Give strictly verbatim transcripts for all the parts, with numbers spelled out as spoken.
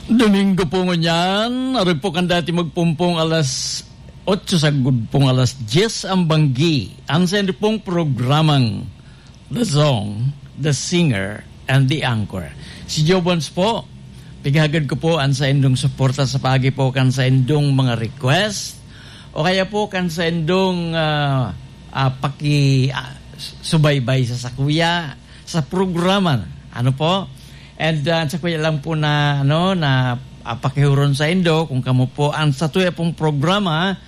Domingo po ngunyan, ari po kan dati magpumpong alas otso sagkod pong alas dyes ang banggi. Ang sendo pong programang The Song, The Singer, and The Anchor. Si Joe Bons po, pighagad ko po ang saindong suporta sa pagi po kan saindong mga request o kaya po kan saindong ah, ah, paki ah, subaybay sa sakuya sa programa. Ano po? And ah, sa kuya lang po na ano na ah, pakihuron sa indo kung kamo po ang sa tuya pong programa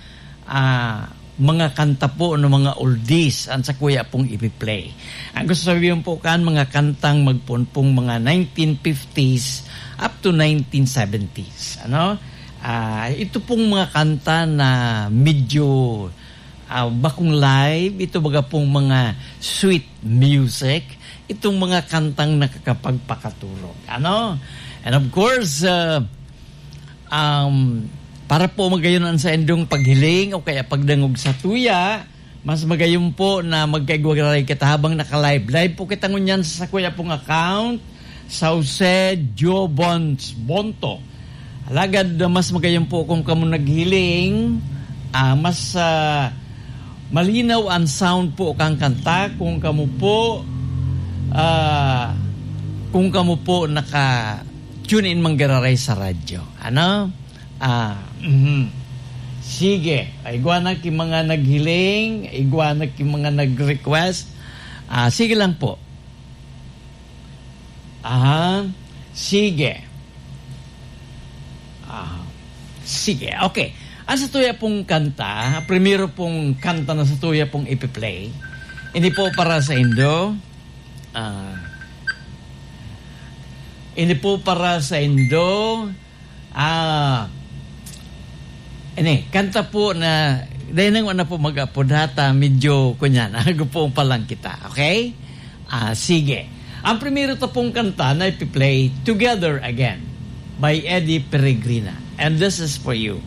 ah, mga kanta po ng mga oldies ang sa kuya pong ipi-play. Ang gusto sabihin po kan mga kantang magpunpong mga nineteen fifties up to nineteen seventies. Ano? Ah, ito pong mga kanta na medyo ah, bakong live, ito baga pong mga sweet music, itong mga kantang nakakapagpakaturog. Ano? And of course, ah, um, para po magayon ang saindong paghiling o kaya pagdangog sa tuya, mas magayon po na magkaigwagaray kita habang naka-live. Live po kita ngunyan sa sakuya pong account, Sauce Jobons Bonto. Alagad uh, mas magayon po kung kamo naghiling, ah, mas ah, malinaw ang sound po kang kanta kung kamo po ah, kung kamo po naka tune in manggararay sa radyo. Ano? Ah, mhm. Sige, igwa na ki mga naghiling, igwa na ki mga nag-request. Ah, sige lang po. Aha. Sige. Ah, sige. Okay. Ang sa tuya pong kanta, primero pong kanta na sa tuya pong ipi-play. Hindi po para sa indo. Ah, hindi po para sa indo. Ah, ini, kanta po na, dahil nang wala po mag-apod hata, medyo kunyan, ago po pa lang kita, okay? Ah, sige. Ang primero ta pong kanta na ipi-play, Together Again, by Eddie Peregrina. And this is for you.